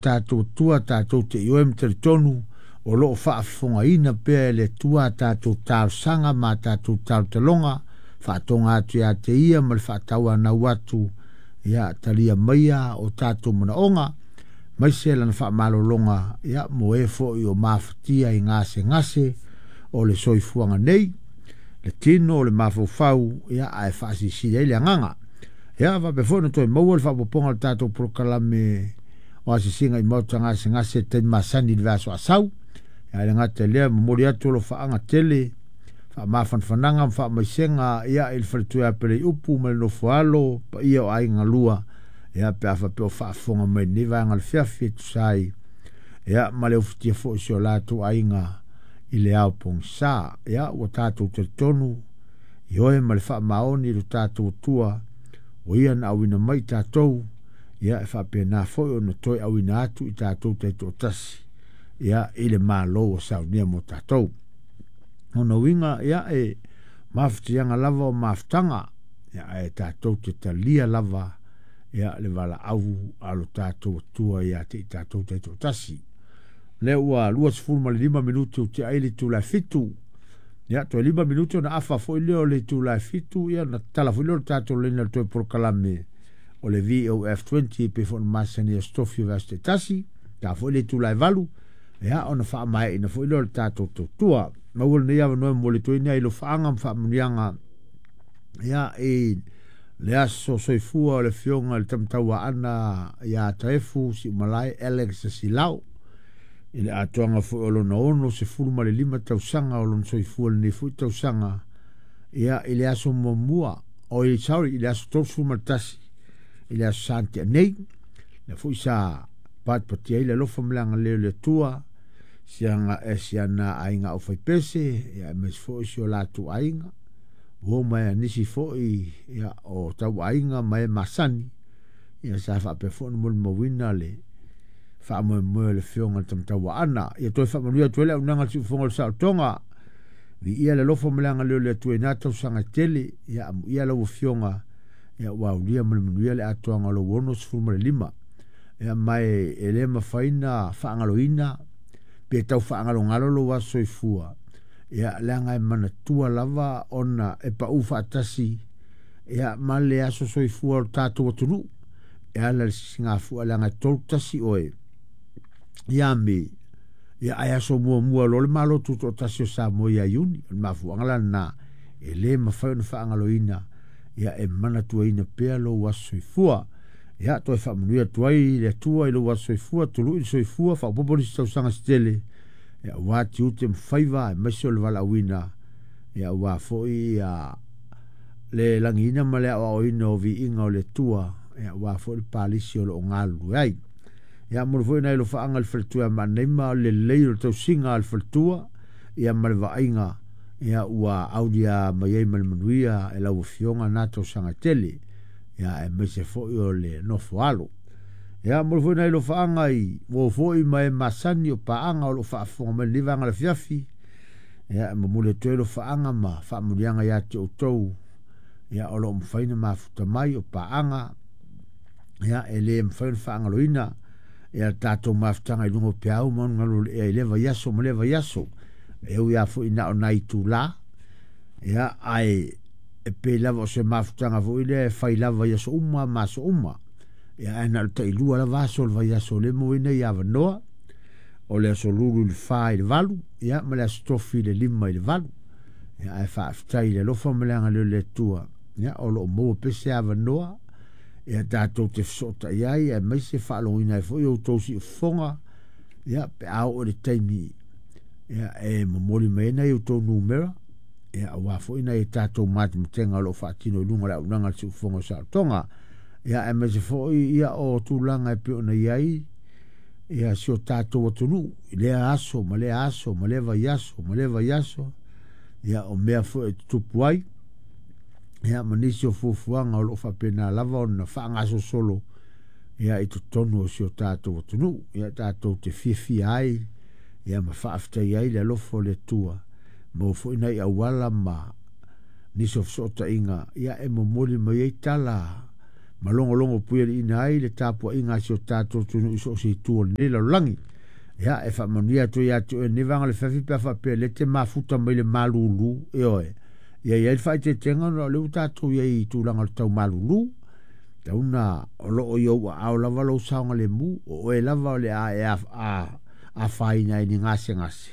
Tatou Atua tatou te ioe ma talitonu o lo o faafofogaina pea e le Atua a tatou talosaga ma a tatou talotaloga, faatoga atu ia te Ia ma le faatauanau atu, ia talia maia o tatou manaoga, aemaise lana faamalologa ia mo e foi o mafatia i gasegase o le soifuaga nei, le tino, le mafaufau, ia ae faasilisili ai le agaga. Ia faapea foi ona toe maua le faaopoopoga o le tatou polokalame o asiasiga i maota gasegase i le taimi masani i le vaiaso asau. Ia ae le gata i lea, momoli atu alofaaga tele, faamafanafanaga ma faamaisega ia i le faletua ia Peleiupu ma le nofoalo paia o aiga lua, ia pe a faapea o faafofoga mai i lenei vaega o le fiafi e tusa ai ia ma le ufitia foi o si o latou aiga i le ao pogisa. Ia ua tatou talitonu ioe ma le faamaoni i lo tatou Atua o ia na auina mai i tatou, ia e faapena foi ona toe auina atu i tatou taitoatasi ia i le Malo ua saunia mo tatou. Ona uiga ia e mafatiaga lava o mafutaga, ia ae tatou te talia lava ia le valaau a lo tatou Atua ia te i tatou taitoatasi. Lea ua 25 minute ua tea ai le itula e 7. Ia, toe 5 minute ona afa foi lea o le itula e 7, ia ona tatala foi lea o le tatou laina i le toe polokalame o le VOF20 e pei foi ona masani i aso tofi o vaiaso taitasi. Ta foi le itula e 8, ia ona faamaeaina foi lea o le tatou tautua. Maua lenei avanoa e momoli atu ai ni alofaaga ma faamanuiaga ia i le aso soifua o le afioga i le Tamatauaana ia Taefu Siumalae Alex Silao i le atoaga foi o lona 65 tausaga o lona soifua i lenei foi tausaga ia i le aso muamua oi sorry i le aso 31 i le aso Sa na tea nei lea foi sa patipatia ai le alofa ma le agalelei o le Atua siana e siana aiga aufaipese ia aemaise foi si o latou aiga uo ma nisi foi ia o tauaiga ma e masani ia sa faapea foi ona molimauina le faamoemoe o le afioga i le Tamatauaana. Ia toe faamanuia atu ai le auaunaga a le Siufofoga o le Saolotoga. Viia le alofa ma le agalelei o le Atua i na tausaga e tele. Ia amuia lau afioga ia ua aulia ma le manuia le atoaga o lou 65. Ia ma e le mafai na faagaloina pe tau faagalogalo lou aso soifua. Ia leaga e manatua lava ona e pau faatasi ia ma le aso soifua o le tatou atunuu e ala i le sisigafua leaga e 31 oe ia Me ia ae aso muamua loa le Malo Tutoatasi o Samoa ia Iuni. O le mafuaaga la lena e le mafai ona faagaloina ia e manatuaina pea lou aso soifua. Ia toe faamanuia atu ai le Atua i lou aso soifua, tului le soifua, faaopoopo nisi tausaga se tele ia aua tiute ma faiva aemaise o le valaauina ia aua foi ia le lagiina ma le aoaoina o viiga o le Atua ia aua foi le palisi o lo o galulue ai. Ia momoli foi nai alofaaga i le faletua ia Maanaima o le lelei o le tausiga a le faletua ia ma le vaaiga ia ua aulia mai ai ma le manuia e lau afioga na tausaga tele ia aemaise foi o le nofo alo. Ia momoli foi nai alofaaga i uo foi ma e masani o paaga o lo o faafofoga mai i lenei vaega o le afiafi. Ia e momoli atu ai alofaaga ma faamanuiaga ia te outou ia o lo o mafai ona mafuta mai o paaga ia e le mafai ona faagaloina ia tatou mafutaga i luga o peau ma galu o le ea i lea vaiaso ma lea vaiaso e ui lava foi na o nai itula ia ae e pei lava o se mafutaga foi lea e fai lava i aso uma ma aso uma ia ae na o le tailua lava aso o le vaiaso lea e maua ai nei avanoa o le aso lulu i le 4 i le 8 ia ma le aso tofi i le 5 i le 8 ia ae faafetai i le alofa ma le agalelei o le Atua ia o lo o maua pea se avanoa ia tatou te fesootai ai aemaise faalogoina ai foi outou siufofoga ia pe a oo i le taimi ia e momoli mai ai nai outou numera ia aua foi nai a tatou matematega o lo o faatino i luga o le auaunaga a le Siufofoga o Saolotoga ia aemaise foi ia o tulaga e pei ona i ai ia si o tatou atunuu i lea aso ma lea aso ma lea vaiaso ma lea vaiaso ia o mea foi e tutupu ai ia ma nisi o fuafuaga o lo o faapena lava ona faagasolosolo ia i totonu o si o tatou atunuu ia tatou te fiafia ai ia ma faafetai ai le alofa o le Atua maua foi nai auala ma nisi o fesootaiga ia e momoli mai ai tala Ma logologo puialiiina ai le tapuaiga a si o tatou atunuu i so o se itu o lenei lalolagi. Ia, e faamanuia atu ia te oe lenei vaega o le afiafi pe a faapea o lea e te mafuta mai le malulu, ioe, ia i ai le faaeteetega ona o lea ua tatou i ai i tulaga o le tau malulu. Tau na o lo o i ou aao lava lou saogalemu, o oe lava o le a e afaina ai i ni gasegase,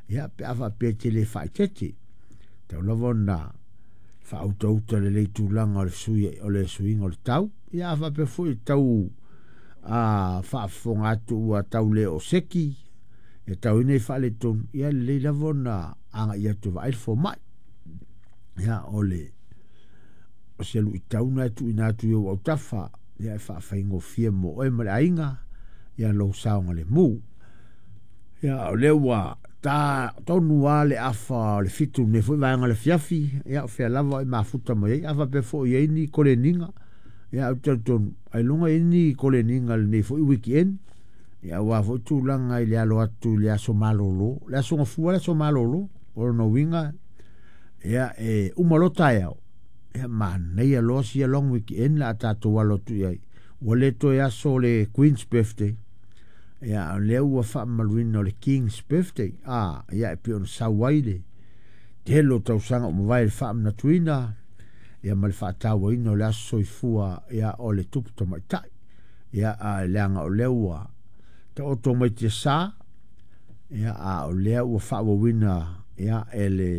ia, pe a faapea e te le faaeteete. Tau lava ona faautauta lelei tulaga o le sui o le suiga o le tau. Ia a faapea foi tau a faafofoga atu ua tau le o seki e tau ina i faaletonu, ia lelei lava ona agai atu e vaai le fomai. Ia o le o se luitau na e tuuina atu i ou autafa, ia e faafaigofie mo oe ma le aiga, ia lou saogalemu. Ia o lea ua ta tonu lava le afa o le 7 lenei foi vaega o le afiafi, ia o fea lava o e mafuta mai ai, a faapea foi e i ai ni koleniga, ia ou te talitonu, ailoga e i ai ni koleniga i lenei foi weekend, ia aua foi tulaga i le alo atu i le aso malolo, le aso Gafua le aso malolo, o lona uiga, ia e uma loa taeao, ia manaia loa sia long weekend la a tatou alo atu i ai. Ua le toe aso o le Queen's Birthday, ia o lea ua faamamaluina o le King's Birthday, a ia e pei ona sau ai le tele o tausaga ua mavae i le faamanatuina ia ma le faatauaina o le aso soifua ia o le tupu tamaitai. Ia a leaga o lea ua taoto mai tiasa, ia a o lea ua faaauauina ia e le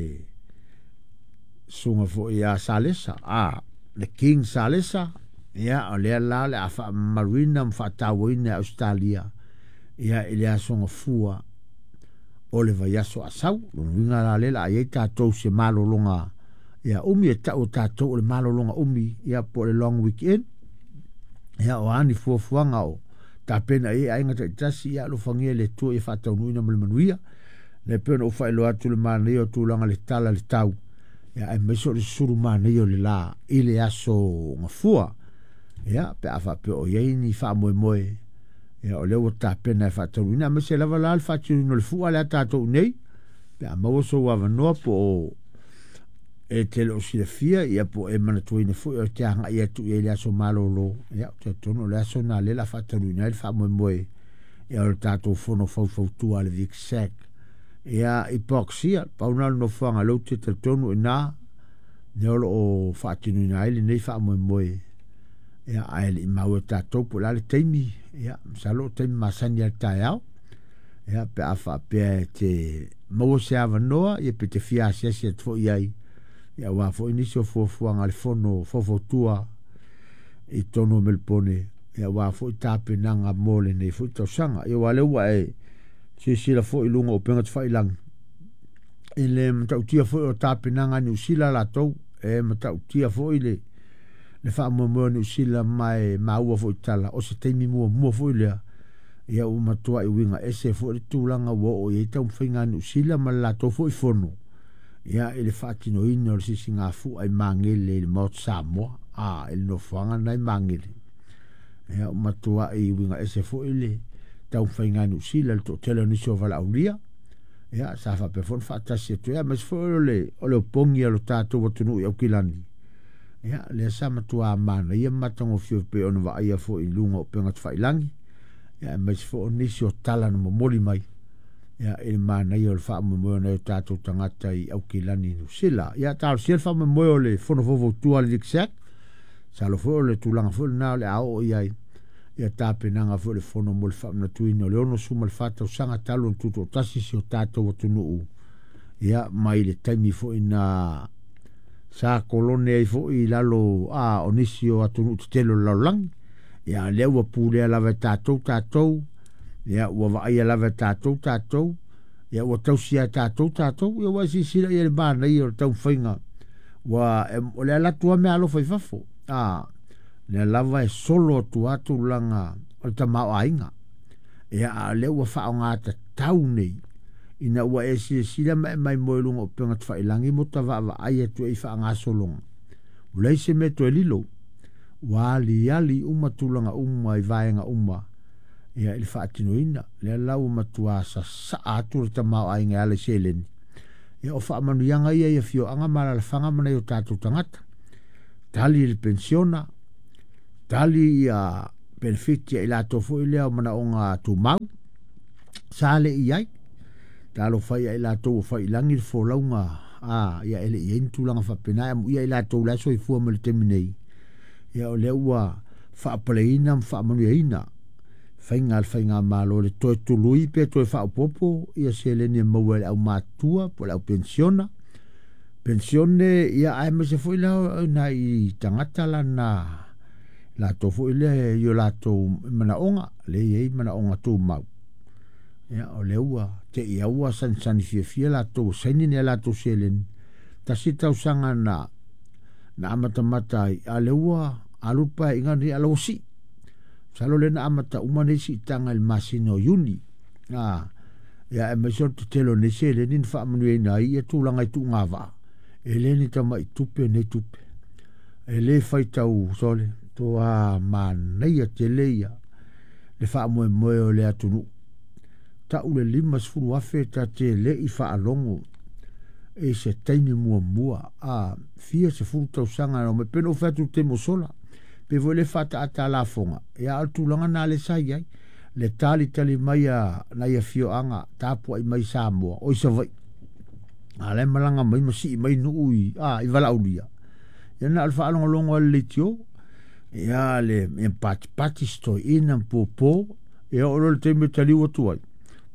susuga foi ia Salesa, a le King Salesa, ia o lea la o le a faamamaluina ma faatauaina e Ausetalia ia i le aso Gafua o le vaiaso a sau. Lona uiga la lea o le a i ai tatou se malologa ia umi e tau e tatou o le malologa umi ia po o le long weekend. Ia o a ni fuafuaga o tapena i ai aiga taitasi, ia alofagia e le Atua ia faataunuuina ma le manuia. Lea pei ona ou faailoa atu le manaia o tulaga le tala le tau, ia aemaise o le susulu manaia o le la i le aso Gafua. Ia pe a faapea o i ai ni faamoemoe, ia o lea ua tapena e faataunuuina, aemaise lava la le faatinoina o le fua lea tatou nei, pe a maua sou avanoa po o e te le o silafia, ia po e manatuaina foi o te agai atu i ai le aso malolo, ia ou te talitonu o le aso lena lea o le a faataunuuina ai le faamoemoe ia o le tatou fono faufautua a le VICSEC. Ia i Boxia, pau na o le nofoaga lea ou te talitonu i ina, lea o lo o faatinoina ai lenei faamoemoe, ia ae le i maua e tatou po o le a le taimi, ia masalo o taimi masani lava i le taeao, ia pe a faapea e te maua se avanoa, ia pe te fia asiasi atu foi i ai, ia aua foi nisi o fuafuaga a le fono faufautua i totonu o Melipone, ia aua foi tapenaga mo lenei foi tausaga. Ia aua o lea ua e silasila foi i luga o upega tafailagi, i le matautia foi o tapenaga a Niu Sila latou, e matautia foi le faamoemoe o Niu Sila ma e maua foi tala, o se taimi muamua foi lea, ia ua matuai uiga ese foi le tulaga ua oo i ai taumafaiga a Niu Sila ma le latou foi fono, ia i le faatinoina o le sisigafua i Magele i le Maota Samoa, a i le nofoaga lena i Magele. Ia ua matuai uiga ese foi le taumafaiga a Niu Sila i le toatele o nisi o valaaulia, ia sa faapea foi ona faatasi atu ai, aemaise foi o le opogi a lo tatou atunuu i Aukilani, ia lea sa matua manaia ma matagofie pei ona vaaia foi i luga o upega tafailagi, ia aemaise foi o nisi o tala na momoli mai, ia i le manaia o le faamoemoe o nai o tatou tagata i Aukilani i Niu Sila. Ia talosia le faamoemoe o le fono faufautua a le VICSEC, masalo foi o le tulaga foi lena o le a oo i ai ia tapenaga foi o le fono mo le faamanatuina o le 64 tausaga talu ona tutoatasi si o tatou atunuu, ia mai le taimi foi na sa kolone ai foi i lalo a o nisi o atunuu tetele o le lalolagi. Ia lea ua pulea lava e tatou tatou, ia ua vaaia lava e tatou tatou, ia ua tausia e tatou tatou, ia ua e silasila i ai i le manaia o le taumafaiga ua o le alu atu lava meaalofa i fafo, a lea lava e solo atu lava tulaga o le tamaoaiga. Ia a o lea ua faaaoga tatau nei ina ua e silasila ma e maimoa i luga o upega tafailagi mo ta vaavaai atu ai i faagasologa, ua leai se mea toe lilo, ua aliali uma tulaga uma i vaega uma ia i le faatinoina. Lea la ua matua sasaa atu le tamaoaiga e ala i seleni. Ia o faamanuiaga ia i afioaga ma alaalafaga ma nai o tatou tagata. Tali le pensiona, Tali ia penefiti a i latou foi lea o manaoga tumau sa le i ai. Talofa ia i latou ua fai i lagi le folauga a ia e le i ai ni tulaga faapena e amuia i latou la e soifua mai le taimi nei. Ia o lea ua faapaleina ma faamanuiaina faiga a le faigamalo le toe tului pe toe faaopoopo ia seleni e maua e le aumatutua po o le au penisiona. Penisione ia aemaise foi la o nai tagata lana latou foi lea i o latou manaoga lea e i ai manaoga tumau. Ia o lea ua te i ua sanisani fiafia latou ua saini ni a latou seleni. Tasi tausaga na amatamata ai, a lea ua alu le paeaiga lenei a la ua sii. Masalo lea na amata uma nei siitaga i le masina o Iuni. Ia aemaise o le tetele o nei seleni na faamanuiaina ai ia tulaga i tuugavaa. E le ni tamai tupe nei tupe. E le faitau sole, toa manaia tele ia le faamoemoe o le atunuu. Tau le 50,000 ta te le i faalogo i se taimi muamua a fia sefulu tausaga na omai pe na ou fai atu i le taimi ua sola pe foi le faataata lafoga ia o le tulaga na le sa i ai le talitali mai a nai afioaga tapuai mai Samoa o i Savaii a la e malaga mai ma sii mai nuu i a i Valaaulia ia na o le faalogologo a le leitio ia le patipati stoeina ma popo ia oo loa i le taimi e taliu atu ai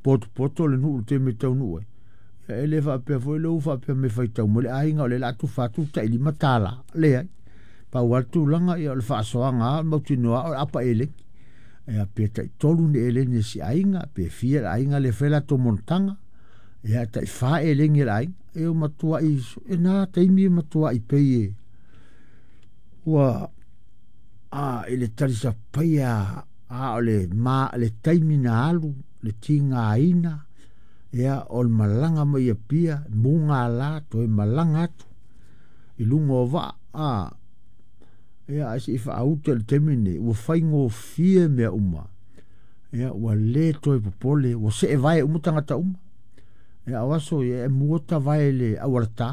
potopoto le nuu i le taimi e taunuu ai. Ia e le faapea foi lea ua faapea mai e faitau mai le aiga o lea o le a tufa atu le tai $5. Leai. Pau lava le tulaga ia o le faasoaga lava o le mautinoa o le apa eleni. Ia pe tai 3 ni eleni a si aiga, pe fia le aiga lea e fai latou monotaga. Ia tai 4 eleni a le aiga. E matuai, e na taimi e matuai pei e ua a i le talisapaia a o le ma le taimi na alu le tigaina ia o le malaga mai Apia mugala toe malaga atu i luga o vaa a ia ae se i faauta i le taimi lenei ua faigofie mea uma ia ua le toe popole ua seevae uma tagata uma ia o aso ia e mua tavae le aualatā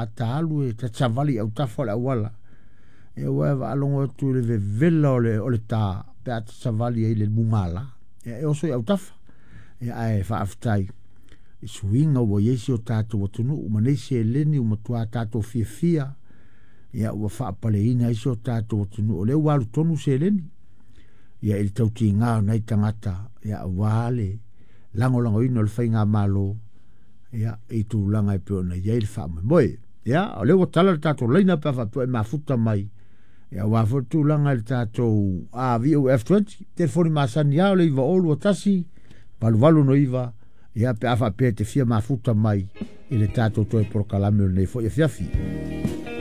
a ta alu e tatavali i autafa o le auala ia ua e faalogo atu i le vevela o le tā pe a tatavali ai le mugala ia e oso i autafa ia ae faafetai i suiga ua i ai si o tatou atunuu ma nei seleni ua matua tatou fiafia ia ua faapaleina ai si o tatou atunuu o lea ua alu tonu seleni ia i le tautiga o nai tagata ia aua le lagolagoina o le faigamalo ia i tulaga e pei ona i ai le faamoemoe. Ia o lea ua tala le tatou laina pe a faapea e mafuta mai ia aua foi le tulaga i le tatou VOF20 telefoni masani lava o le 9021 8869 ia pe a faapea e te fia mafuta mai i le tatou toe polokalame o lenei foi afiafi.